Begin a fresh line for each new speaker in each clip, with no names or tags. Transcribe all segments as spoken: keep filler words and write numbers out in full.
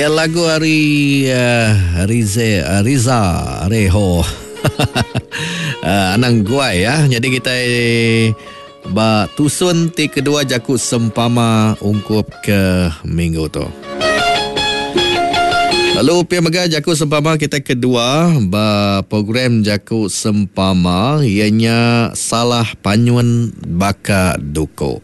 Ya lagu hari uh, Rize, uh, Riza Reho. uh, Anang Guai ya. Jadi kita ba tusun ti kedua jaku sempama ungkup ke minggu tu. Lalu pia mega jaku sempama kita kedua ba program jaku sempama ianya salah panyun baka duku.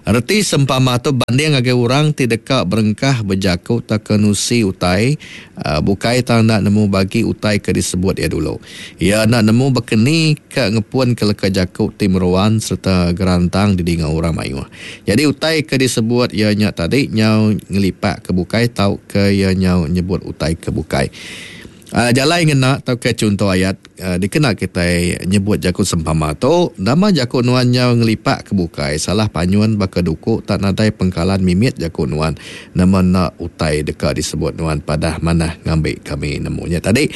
Reti sempama tu banding ngagai orang ti deka berengkah bejaku tak kenusi utai uh, bukai tang nak nemu bagi utai ke disebut ia dulu. Ia nak nemu bekeni ke ngepun ke leka jaku ti meruan serta gerantang didinga orang mayuh. Jadi utai ke disebut ia nya tadi nyau ngelipak ke bukai tau ke ia nyau nyebut utai ke bukai. Uh, jalai ngena atau ke contoh ayat uh, dikena kita nyebut jaku sempama tu nama jaku nuan nyau ngelipak ke bukai salah panyuan baka duku tak nadai pengkalan mimit jaku nuan nama nak utai deka disebut nuan padah manah ngambil kami nemunya tadi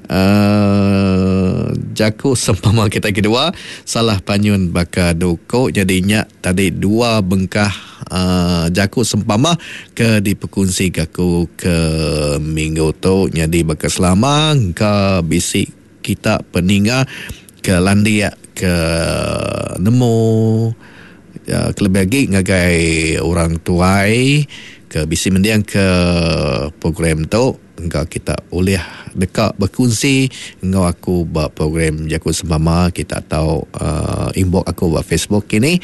uh, jaku sempama kita kedua salah panyun baka duku jadinya tadi dua bengkah Uh, jaku sempama ke diperkongsi aku ke minggu tu jadi baka selama ke bisi kita peninga ke landia ke nemu uh, kelebih lagi ngagai orang tuai ke bisi mendiang ke program tu engkau kita boleh dekat berkongsi engkau aku buat program jaku sempama kita tahu uh, inbox aku buat Facebook kini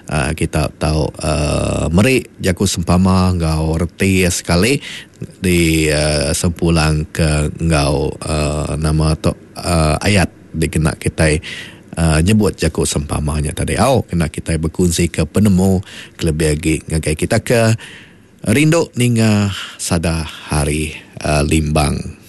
uh, kita tahu uh, meri jaku sempama engkau reti sekali di uh, sempulang ke engkau uh, nama tu uh, ayat dikena kita Uh, nyebut jaku sempamanya tadi. Au kena kita berkongsi ke penemu kelebih lagi ngagai kita ke rindu ninga sada hari uh, Limbang.